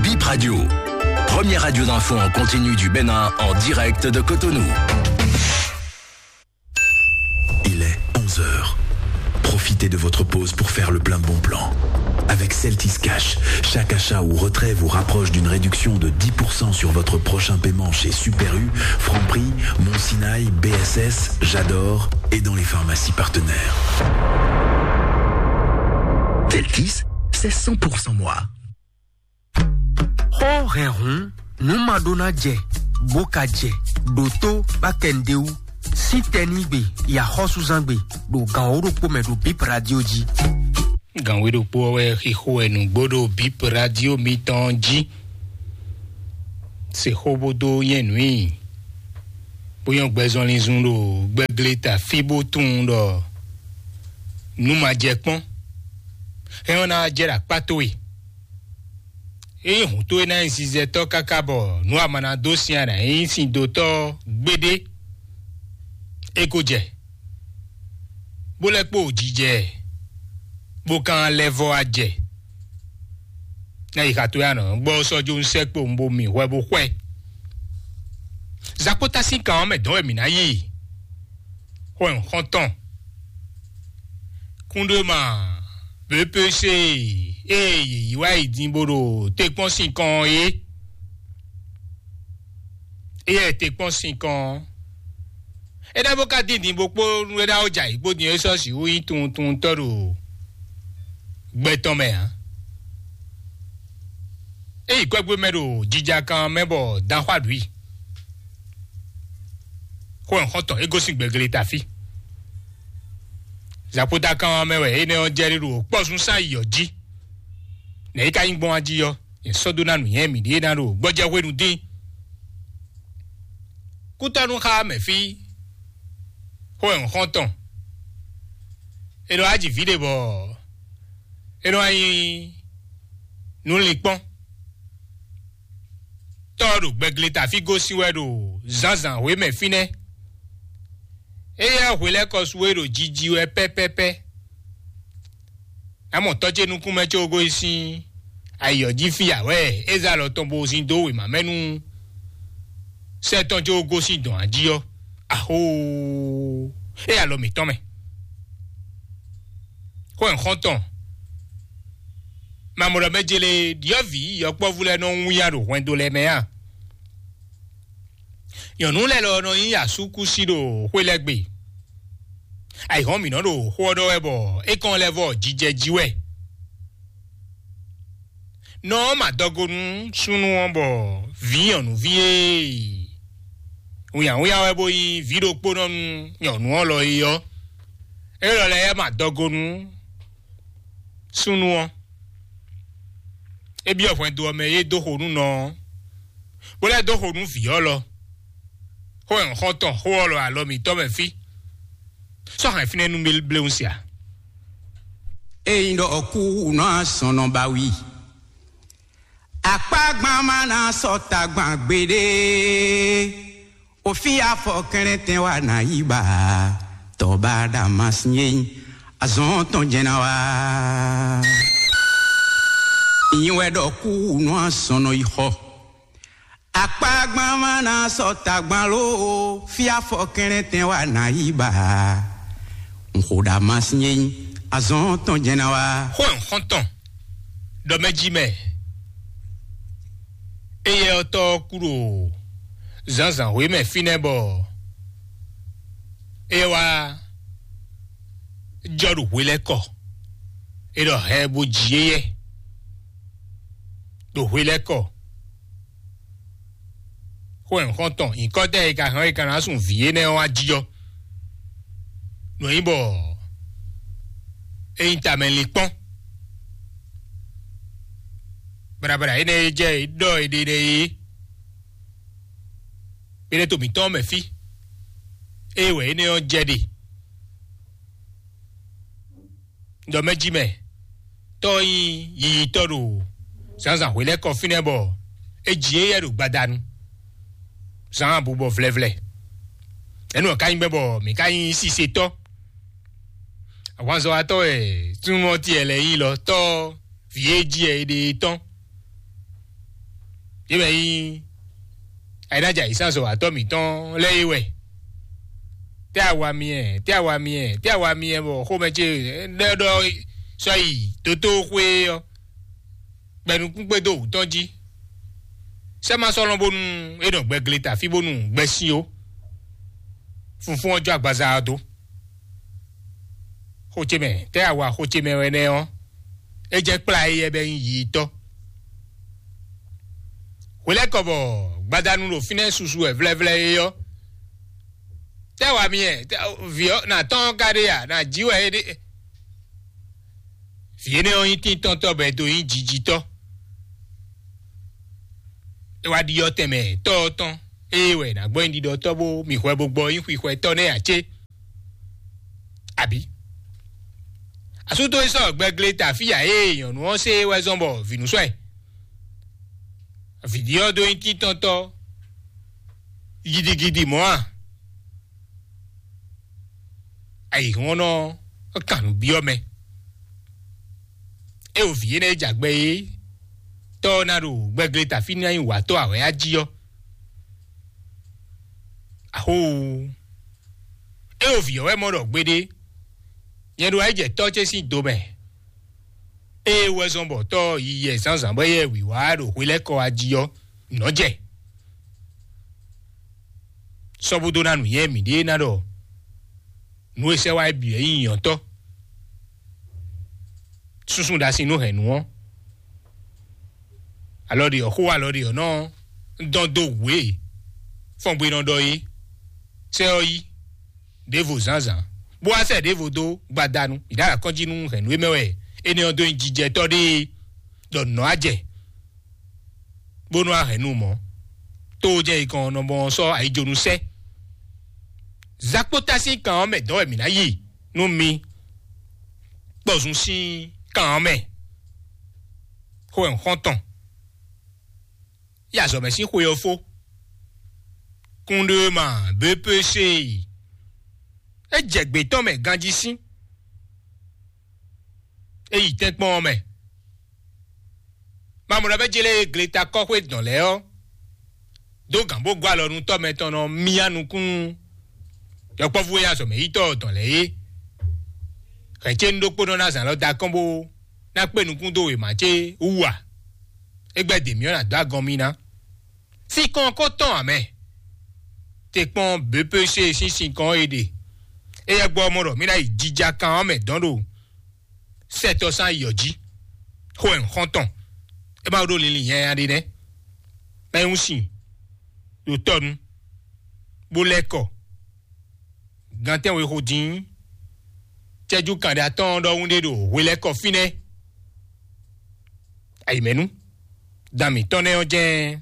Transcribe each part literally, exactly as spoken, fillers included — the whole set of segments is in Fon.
Bip Radio, première radio d'info en continu du Bénin en direct de Cotonou. Il est onze heures. Profitez de votre pause pour faire le plein de bons plans. Avec Celtis Cash, chaque achat ou retrait vous rapproche d'une réduction de dix pour cent sur votre prochain paiement chez Super U, Franprix, Mon Sinaï, B S S, J'adore et dans les pharmacies partenaires. Celtis, c'est cent pour cent moi. Xó hɛn hǔn, nǔ ma ɖó ná jɛ, bó ka jɛ, ɖǒtó bá kɛ nǔɖé wú, sín tɛnígbe, yi axɔ́súzángbe, ɖo gǎn wǒ ɖokpó mɛ ɖo Bip Radio jí. Gǎn wǒ ɖokpó ɔ́ wɛ xixo wɛ nǔgbó ɖo Bip Radio mitɔn jí. Se xó bó dó nyɛ nǔ i, bó nyɔ́ gbɛzɔnlin zun ɖo gbɛgle ta fí bó tunwun ɖɔ nǔ ma jɛ kpɔ́n. Hɛn ɔ́ ná jɛ ɖo akpá towe. Ényí hǔn towe ná nyí zinzɛtɔ́ káká bɔ nǔ a ma ná dó sin a nǎ nyí sindotɔ́ gbeɖé, é ko jɛ, bó lɛ́ kpo jijɛ, bó ka lɛ́ vɔ́ wá jɛ. Ná yi xa towe anɔ gbɔ sɔ́ jó un sɛ́ kpo un bo mi hwɛ bó xwɛ. Zakpótá sín kan ɔ́ mɛ dɔn wɛ mǐ ná yi. Xwɛn xɔ́ntɔn. Kúndéma B P C e yě yi wá yi din bó ɖo te kpɔ́n sin kɔn ɔ́ é. Éyɛ́ te kpɔ́n sin kɔn ɔ́, é ná bó ka dín din bó kpó nú é ná ó jɛ ayǐ kpó din é sɔ́ sixú nyí tunwuntunwuntɔ́ ɖo gbɛ tɔn mɛ ǎ. É yi kwɛ́gbé mɛ ɖo jijakan mɛ bɔ dan xwá ɖu i. Xó ɛ xɔ́ntɔn é gosín gbɛgele tafí. Zapotakan mɛ wɛ énɛ́ ɔ́ jɛ ɖe ɖo kpɔ́zúnsán yi ɔ́ jí. Nɛ̌ é ka nyí gbɔn wá jí ɔ́, è sɔ́ dó ná nǔnywɛ́ mǐɖée ná ɖo gbɔjɛ́ hwenu dín. Kútɔ́nú xá mɛ fí, xó ɛ xɔ́ntɔn. É nɔ wá ji vǐ ɖé bɔ é nɔ wá nyí nǔlinkpɔ́n. Tɔ́ ɔ́ ɖo gbɛgleta fí gosín wɛ ɖo zǎnzǎn hwemɛ fínɛ́. Éyɛ́ hwe lɛ́ɛ kɔ su é ɖo jiji wɛ pɛ́pɛ́pɛ́. Amɔ tɔ́ ce nukúnmɛ ce ogó yi sín ayǐ ɔ́ jí fí ǎ wɛ é zé alɔ tɔn bó zin dó wěma mɛ nú sɛ́ tɔn ce ogó sín dɔ̌n ají ɔ́. Axóó! É alɔ mǐtɔn mɛ. Xó ɛ xɔ́ntɔn. Mamɔɖɔ mɛ jele ɖyɔ̌vǐ yɔkpɔ́vú lɛ́ɛ nɔ wínnyá ɖo hwɛndo lɛ́ɛ mɛ a? Nyɔ̌nu lɛ́ɛ lɔ nɔ nyí asúkúsi ɖo xwé lɛ́ɛ gbe. Ayǐhɔ́n mǐ nɔ ɖo xó ɔ́ ɖɔ wɛ bɔ é kɔn lɛ́ vɔ jijɛ jí wɛ. Nɔ ɔ́ ma dɔgo nú súnnu ɔ́ bɔ vǐ nyɔ̌nuví e wínnyáwínnyá wɛ bó nyí vǐ ɖokpónɔ nú nyɔ̌nu ɔ́ lɔ é ɔ́, é lɔ lɛ́ɛ ma dɔgo nú súnnu ɔ́. É byɔ́ hwɛndo ɔ́ mɛ e dó xo nú nɔ ɔ́, bó lɛ́ dó xo nú vǐ ɔ́ lɔ. Xó ɛ xɔ́ntɔn xó ɔ́ lɔ alɔ mǐtɔn mɛ fí. Sɔ́ hɛn fínɛ́ nú bléwún sia. Ényí ɖɔ kú nɔ asɔnɔ ba wí. Akpágbán má ná sɔ́ tagban gbeɖé. Òfin afɔ kɛnlɛntɛn wa ná yí ba. Tɔba Damasín azɔn tɔn jɛn ná wá. Ìyín wɛ ɖɔ kú nɔ asɔnɔ yi xɔ. Akpágbán má ná sɔ́ tagban ló, fí afɔ kɛnlɛntɛn wa ná yí ba. Nxo ɖa ma sín é nyí azɔn tɔn jɛ́n ná wá. Xó ɛ xɔ́ntɔn ɖɔ mɛ jí mɛ. Éyɛ́ ɔ́ tɔ́ kú ɖo zǎnzǎn hwé mɛ fínɛ́ bɔ é wá jɔ ɖo hwelɛ́kɔ. É ɖɔ hɛ bó jǐ éyɛ́ ɖo hwelɛ́kɔ. Xó ɛ xɔ́ntɔn nyǐkɔ́tɛn e ka hɛn ɔ́, e ka ná sun vǐ énɛ́ ɔ́ wá jí ɔ́, nɔ nyí bɔ é nyí tamɛ linkpɔ́n. Baɖabaɖa énɛ́ e jɛ ɖɔ è ɖe ɖɛ é, é ɖe to mǐtɔn mɛ fí. Ée wɛ énɛ́ ɔ́ jɛ ɖe. Ɖɔ mɛ jí mɛ, tɔ́ ɔ́ nyí yiyitɔ́ ɖo zǎnzǎn hwelɛ́kɔ fínɛ́ bɔ é ji éyɛ́ ɖo gbadanu. Zǎn abubɔ vlɛvlɛ. Ɛnu ɔ́ ka nyí gbɛ́ bɔ mǐ ka nyí sisetɔ́. Ahwanzɔ́watɔ́ wɛ súnnu ɔ́ tiɛ lɛ́ɛ nyí lɔ tɔ́ vǐ e jí ɛ è ɖe é tɔn. Yě mɛ nyí ayǐnájà yǐsánsɔ́watɔ́ mǐtɔn lɛ́ɛ é wɛ. Tɛ́ awa mi ɛ, tɛ́ awa mi ɛ, tɛ́ awa mi ɛ bɔ xomɛ ce ɖɔ ɖɔ sɔ́ yi dótóxwé ɔ́, gbɛnukún kpédó wǔ tɔn jí. Sɛ́ ma sɔ́ lɔn bónú é nɔ gbɛgle ta fí bónú gbɛsín ó. Funfún ɔ́ jó agbaza ɔ́ dó. Xó ce mɛ, tɛ́ awa xó ce mɛ wɛ nɛ́ ɔ́, é jɛ kplá éyɛ́ bɛ́ nyí yiyi tɔ́. Hwelɛ́kɔ bɔ gbadanu ɖo fínɛ́ susu wɛ vlɛ́vlɛ́ é ɔ́, tɛ́ wa mi ɛ, tɛ́- vǐ ɔ́ nǎ tɔ́n ɔ́ ka ɖe a? Nǎ jí wɛ é ɖe. Vǐ énɛ́ ɔ́ nyí tíntɔ́ntɔ́ bɔ è dó nyí jijitɔ́. É wá ɖiɖɔ tɛnmɛ tɔ́ ɔ́ tɔn, ée wɛ è nǎ gbɔ nyi ɖiɖɔtɔ́ bó mi hwɛ bó gbɔ nyí xwixwɛtɔ́ nɛ́ ǎ cé? Abǐ asú tó sɔ́ gbɛgle ta fí ǎ ée nyɔ̌nu ɔ́ se wɛ zɔ́n bɔ vǐ nú sɔ́ ɛ. Vǐ ɖi ɔ́ dó nyí tíntɔ́ntɔ́ gidigidi mɔ̌ a? Ayǐhɔ́nnɔ ɔ́ kan nǔ byɔ́ mɛ. É wo vǐ énɛ́ e jɛ agbɛ é tɔ́ ɔ́ ná ɖo gbɛgle ta fí ná nyí wǎtɔ́ awɛ̌ á jí ɔ́. Axóo! É wo vǐ ɔ́ wɛ mɔ ɖɔ gbeɖé, nyɛ ɖo ayǐjɛtɔ́ ce sín do mɛ. Ée wɛ zɔn bɔ tɔ́ ɔ́ yi yɛ zǎnzǎn bɔ yɛ wǐwá ɖo hwelɛ́kɔ wá jí ɔ́, nɔ́ jɛ. Sɔ́ bó dó ná nǔnywɛ́ mǐɖée ná ɖɔ nǔ e sɛ́ wá é bǐ wɛ nyí nyɔ̌tɔ́. Súnsún ɖasin nú hɛ̌nnu ɔ́. Alɔ ɖe ɔ́ xó alɔ ɖe ɔ́ nɔ dɔn dó wǔ e fɔ́ngbénɔ ɖɔ é. Sɛ́ ɔ́ yí ɖěvo zǎnzǎn, bó wá sɛ ɖěvo dó gbadanu. Mǐ ɖo alakɔ́njí nú hɛ̌nnu e mɛ wɛ énɛ́ ɔ́ dó nyí jijɛtɔ́ ɖé é, ɖɔ nǔ nɔ́ wá jɛ, bónú a hɛn nú mɔ̌. Tó jɛ ikɔn nɔ mɔ sɔ́ ayijonu sɛ́. Zakpóta sín kan ɔ́ mɛ dɔ̌ wɛ mǐ ná yi nú mi. Kpɔzun sín kan ɔ́ mɛ, xó wɛ un xɔ́n tɔn. Yi azɔ̌ mɛ sín xwe ɔ́ fó. Kúnɖéwéma bépése. É jɛ gbětɔ́ mɛ ganjí sín. É yi tɛ́nkpɔ́n ɔ́ mɛ. Mamɔ̌ ɖɔ bɛ́ jlé gleta kɔ́xwé dɔn lɛ́ɛ ɔ́, dó gǎn bó gɔ́ alɔ nú tɔ́ mɛtɔn nɔ myá nukúnnú yɔkpɔ́vú e azɔ̌mɛyítɔ́ dɔn lɛ́ɛ é. Hɛ̌n ce un ɖokpónɔ ná zǎn lɔ da kɔn bó ná kpé nukún dó wěma ce wú a? É gbɛ́ dě myɔ ná dó agɔn mì ná. Sinkɔn ko tɔn ǎ mɛ. Te kpɔ́n B P C sín sinkɔn e ɖe. Éyɛ́ gbɔ mɔ ɖɔ mí ná yi jija kan ɔ́ mɛ dɔn ɖo sɛtɔ́ sán yɔ jí. Xó ɛ xɔ́ntɔn. É má ɖó linlin nyanya ɖé nɛ́. Mɛ ń sin ɖo tɔ́ nu, bó lɛ́ kɔ. Gantɛ́ we xo dín. Cɛ́jú kan ɖé atɔ́ɔ́n ɖɔhun ɖé ɖo hwelɛ́kɔ fínɛ́. Ayǐmɛnú, dan mǐtɔn nɛ́ ɔ́ jɛ́n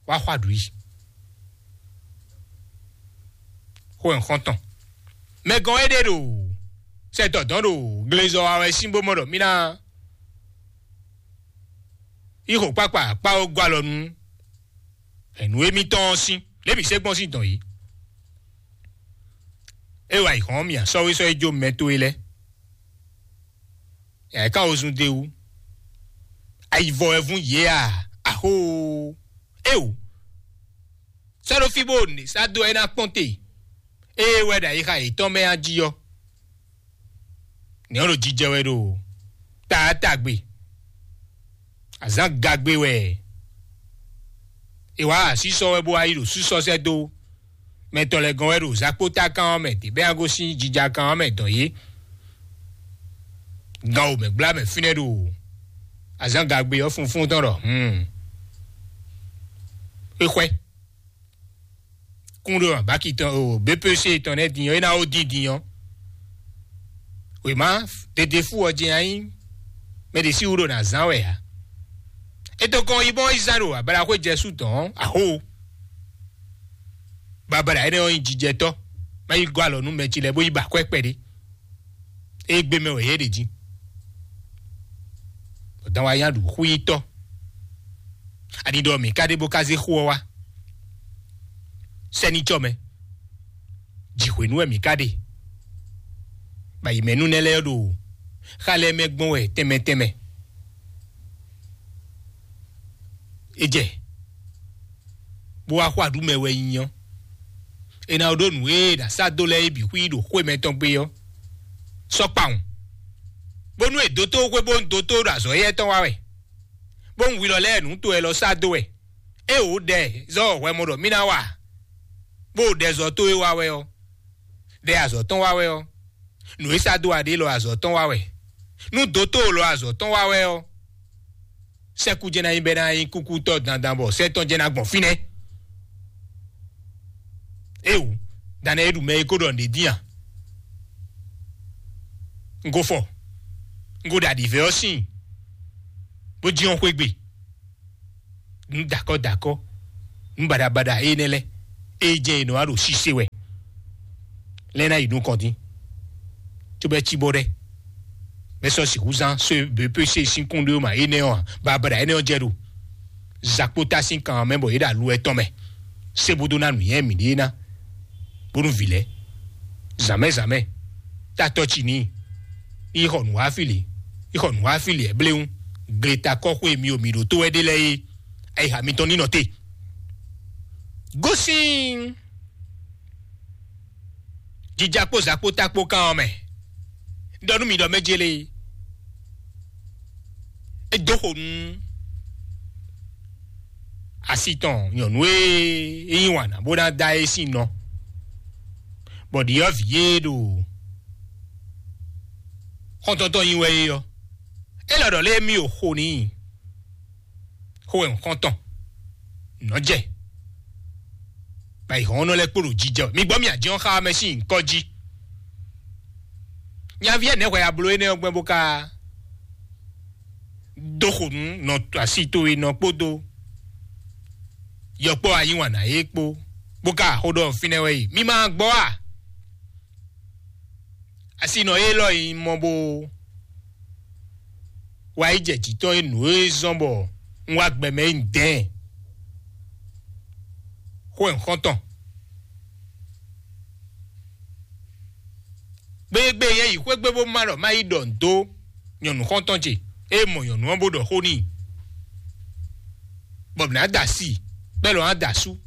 wá xɔ aɖǔ yi. Xó ɛ xɔ́ntɔn. Mɛ gɔn é ɖe ɖo sɛ dɔ̌dɔn ɖo glezɔ wa wɛ sín bó mɔ ɖɔ mí ná yí xo kpákpá kpá ó gɔ́ alɔ nú hɛ̌nnu émítɔn ɔ́ sín, lě mǐ se gbɔn sín dɔn yìí. É wa yi hɔn mì asɔ́wésɔ́ e jó mɛ towe lɛ́ɛ. Yǎ ká wozun d'é wú. Ayivɔ wɛ vún yě a? Axóo! Éo! Sɔ́ ɖó fí bó nǐ sá dó ɛ ná kpɔ́n te. Ée wɛ ɖo ayixa yětɔn mɛ a jí ɔ́, nɛ̌ ɔ́ ɖo jijɛ wɛ ɖo taatagbe? Azǎn gagbe wɛ. È wǎ asísɔ wɛ bó wá yi ɖo sísɔ sɛ́ dó. Mɛ tɔn lɛ́ɛ gɔ́n wɛ ɖo zakpótákan ɔ́ mɛ dě bɛ́ a gosín jijakan ɔ́ mɛ dɔn yě. Gan wǒ mɛ gbla mɛ fínɛ́ ɖo azǎn gagbe ɔ́ funfún tɔn ɖɔ hun. Xwexwɛ kún ɖo abaki tɔn o B P C tɔn nɛ́ din ɔ́, é ná ó dín din ɔ́. Wěma ɖeɖe fú ɔ́ jɛ́n ayí mɛ ɖě sí wú ɖo nǎ zán wɛ ǎ. È to kɔn yi bɔn yi zán ɖo ablaxwé Jɛsu tɔn ɔ́, axó. Babla énɛ́ ɔ́ nyí jijɛtɔ́, má yi gɔ́ alɔ nú mɛ ce lɛ́ɛ bó yi ba akwɛ́ kpɛɖé. Égbé mɛ wɛ yě ɖe jí. Bɔ dan wa nyá ɖu xwínyítɔ́. Ani ɖɔ mǐ ka ɖe bó ka zé xó ɔ́ wá. Sɛ́ ní cɔ mɛ. Jǐ hwenu wɛ mǐ ka ɖe. Bɔ ayǐmɛnú nɛ́ lɛ́ɛ ɖo Xa lɛ́ɛ mɛ gbɔn wɛ tɛnmɛ tɛnmɛ. É jɛ bó wá xɔ aɖǔ mɛ wɛ nyí ɔ́, è nǎ ɖó nǔ e è nǎ sá dó lɛ́ɛ é bǐ xwí ɖo xwé mɛtɔn gbe ɔ́ sɔ́ kpawun, bónú è dó tó xwé bó ń dó tó ɖo azɔ̌ éyɛ́ tɔn wá wɛ, bó ń hwi lɔ lɛ́ɛ nǔ to wɛ lɔ sá dó wɛ. É wǒ ɖɛ zɔ́ hwɛ mɔ ɖɔ mí ná wa, bó ɖɛ zɔ tó é wá wɛ ɔ́, ɖɛ azɔ̌ tɔn wá wɛ ɔ́, nǔ e sá dó aɖé lɔ azɔ̌ tɔn wá wɛ. Nú dǒtó lɔ azɔ̌ tɔn wá wɛ ɔ́, sɛ́kú jɛ́n ná nyí bɛ́ ná nyí kúkútɔ́ dandan bɔ sɛ́ tɔn jɛ́n ná gbɔn fínɛ́. Éwu, danɛ e ɖu mɛ e ko ɖɔ nǔɖé dín a? Un ko fɔ, un ko ɖo aɖǐvɛ́ ɔ́ síin, bó jínjɔ́n xwé gbe. Nǔ dakɔ́ dakɔ́, nǔ baɖabaɖa énɛ́ lɛ́ɛ, é jɛ́n è nɔ wá ɖo sise wɛ. Lɛ́ ná yi nukɔn dín, cóbɔ é cí bɔ ɖɛ́, bɛ́ sɔ́ sixú zán só běpése sín kún ɖé ma énɛ́ ɔ́ ǎ, baɖabaɖa énɛ́ ɔ́ jɛ ɖo zakpóta sín kan ɔ́ mɛ bɔ yě ɖo alu ɛtɔn mɛ, sé bó dó ná nǔnywɛ́ mǐɖée ná, bónú vǐ lɛ́ɛ, zǎnmɛ zǎnmɛ, tatɔ́ ci n'i, yi xɔ nǔ wá fí lě, yi xɔ nǔ wá fí lě bléwún, gletakɔ́xwé e mi ɖo mǐ ɖótó wɛ ɖe lɛ́ɛ é, ayixa mitɔn ní nɔ te. Gosín jija kpó zǎkpóta kpó kan ɔ́ mɛ, ɖɔ nú mi ɖɔ mɛ jélé, é dó xo nú asi tɔn nyɔ̌nu e é yí wǎn ná bó ná da é sín nɔ, bɔ ɖyɔ̌vǐ e ɖo xɔ́ntɔ́ntɔ́ nyi wɛ é ɔ́, é lɔ ɖɔ lé émí o xo n'i. Xó wɛ un xɔ́n tɔn nɔ́ jɛ, bɔ ayǐhɔ́nnɔ lɛ́ɛ kpo ɖo jijɛ wɛ. Mi gbɔ mi ajɔ́n xá mɛ sín nyǐkɔ jí. Nyaví ɛnɛ́ hwɛ abló énɛ́ ɔ́ gbɛ́ bó ka dó xo nú nɔ asi towe nɔ kpódó yɔkpɔ́ ayíwǎn ná é kpó, bó ka xó ɖɔ fínɛ́ wɛ yi. Mi ma gbɔ a? Asi nɔ élɔ́ yi mɔ bó wá yi jɛ jǐ tɔn e nǔ e zɔ́n bɔ un wá gbɛ mɛ e un dɛ̌n. Xó wɛ un xɔ́n tɔn. Gbégbé yɛ yi xwé gbe bó ma ɖɔ má yi ɖɔ nǔ dó nyɔ̌nu xɔ́ntɔn ce, é mɔ nyɔ̌nu ɔ́ bó ɖɔ xó n'i, bɔ mǐ ná da asi, bɔ é lɔ́ ná da asú.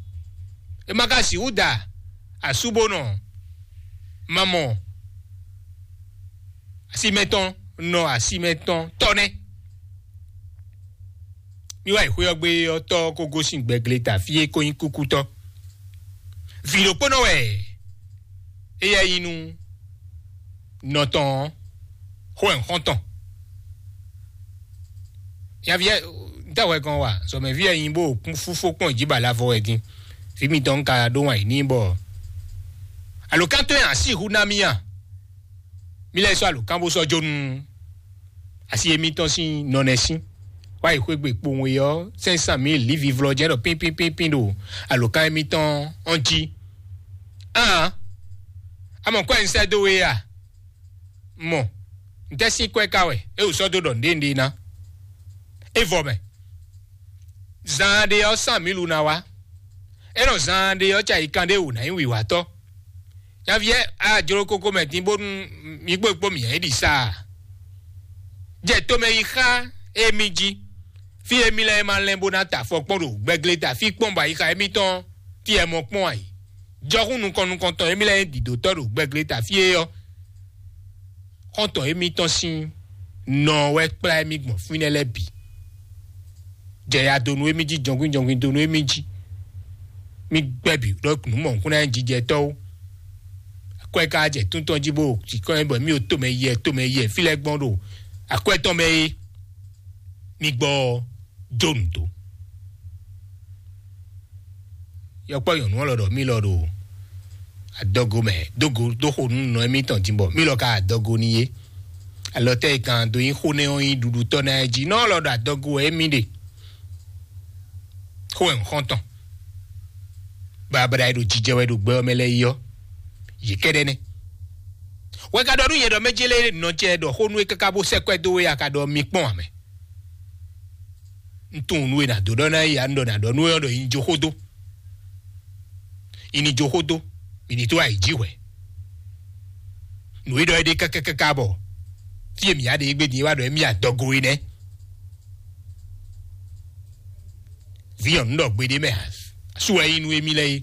É ma ka sixú da asú bó nɔ ma mɔ asi mɛtɔn nɔ asi mɛtɔn tɔ́ nɛ́. Mí wá yi xwé ɔ́ gbé ɔ́ tɔ́ ɔ́ kó gosín gbɛgleta fí e ko nyí kúkútɔ́. Vǐ ɖokpónɔ wɛ éyɛ́ nyí nú nɔ tɔn ɔ́, xó wɛ un xɔ́n tɔn. Nyaví ɛ ntɛ́ hwɛ gɔn wa zɔmɛví ɛ nyi bó kún fúfó kpɔn jí ba lavɔ wɛ din. Vǐ mitɔn un ka ɖó wǎn yǐ n'i bɔ alǒkántɔ́ ɛ así hu ná mì a? Mí lɛ́ sɔ́ alǒkán bó sɔ́ jó nú asi émítɔn sín nɔnɛsín. Wá yi xwégbe kpowun e ɔ́, cinq cent mille lǐvivlɔ jɛ́n ɖɔ pínpínpínpín ɖo alǒkán émítɔn ɔ́ jí. Aan, a mɔ kɔ́ e un sɛ́ dó we a? Mɔ, ntɛ́ sín kwɛ́ ka wɛ é wǒ sɔ́ dó ɖɔ nǔɖé nǔɖé ná? É vɔ mɛ. Zaan ɖé ɔ́, sán mǐlu ná wá. É nɔ zaan ɖé ɔ́, cayikan ɖé wǒ ná nyí wǐwatɔ́. Nyaví ɛ, a jló kókó mɛ dín bónú mi kpó kpó mǐ nyí ɖi sa a? Jɛ tomɛ yi xá émí jí. Fí émí lɛ́ɛ ma lɛ́n bó ná ta afɔ kpɔ́n ɖo gbɛgleta fí kpɔ́n bɔ ayixa émítɔn fí ɛ mɔ kpɔ́n ǎ. Jɔhún nukɔn nukɔntɔn émí lɛ́ɛ nyí dǐdótɔ́ ɖo gbɛgleta fí é ɔ́, xɔ́ntɔn émítɔn sín nɔ wɛ kplá émí gbɔn fínɛ́ lɛ́ɛ bǐ. Jɛ ya dó nú émí jí, jɔngbín jɔngbín dó nú émí jí. Mí gbɛ́ bǐ ɖɔ nǔ mɔ̌hunkúnná jijɛtɔ́ ó. Akwɛ́ ka jɛ tún tɔn jí bó jǐkɔ́n bɔ mí ɖo tomɛ yɛ tomɛ yɛ fí lɛ́ɛ gbɔn ɖo akwɛ́ tɔn mɛ é. Mí gbɔ jó nǔ dó. Yɔkpɔ́ nyɔ̌nu ɔ́ lɔ ɖɔ mí lɔ ɖo adɔgo mɛ dógo dó xo nú nɔ émítɔn din bɔ mí lɔ ka adɔgo n'i é. Alɔ tɛ́ e kan dó nyí xó nɛ́ ɔ́ nyí ɖuɖutɔ́ ná ɛ jí nɔ lɔ ɖo adɔgo wɛ émí ɖe. Xó wɛ un xɔ́n tɔn. Babla e ɖo jijɛ wɛ ɖo gbɛ ɔ́ mɛ lɛ́ɛ yi ɔ́, yě kɛ́ɖɛ́ nɛ́. Wɛ ka ɖɔ nú nyɛ ɖɔ mɛ jélé nɔ cɛ ɖɔ xó nú é káká bó sɛ́ kwɛ́ dó we a ka ɖɔ mi kpɔ́n ǎ mɛ. Un tunwun nú e nǎ dó ɖɔ ná yi ǎ, un ɖɔ nǎ ɖɔ nú we ɔ́ ɖɔ yi ní jó xó dó. Yi ní jó xó dó, mi ní tó ayǐ jí hwɛ̌. Nǔ e ɖɔ é ɖe káká káká bɔ Fí e mǐ ya ɖe égbé din é wá ɖɔ émí adɔgo é nɛ́. Vǐ nyɔ̌nu ɖɔ gbeɖé mɛ ǎ, sú wɛ nyí nú émí lɛ́ɛ é.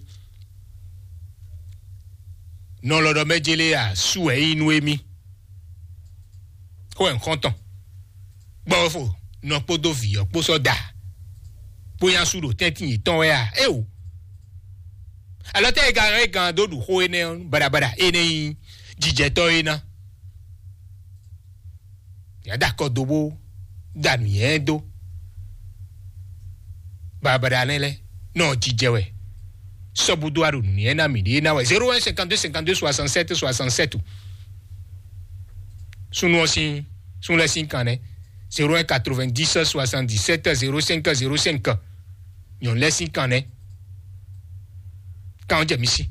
Nɔ lɔ ɖɔ mɛ jélé ǎ, sú wɛ nyí nú émí. Xó wɛ nǔ xɔ́ntɔn gbɔ fo nɔ kpódó vǐ ɔ́ kpó sɔ́ da bó nyá sú ɖo tɛ́ntin yětɔn wɛ a? Éwo. Alɔ tɛ e ga e gan dó ɖu xó énɛ́ ɔ́, baɖabaɖa énɛ́ nyí jijɛtɔ́ é ná. Yǎ da akɔ do bó da nǔ nyɛ dó. Baɖabaɖa nɛ́ lɛ́ɛ nɔ jijɛ wɛ. Sɔ́búdó a ɖo nǔnywɛ́ ná mǐ ɖe ná wɛ zéro un cinquante deux cinquante deux soixante sept soixante sept. Súnnu ɔ́ sín, súnnu lɛ́ɛ sín kan nɛ́. Zéro un quatre vingt dix soixante dix sept zéro cinq zéro cinq. Nyɔ̌nu lɛ́ɛ sín kan nɛ́. Kan ɔ́ jɛ mi sí.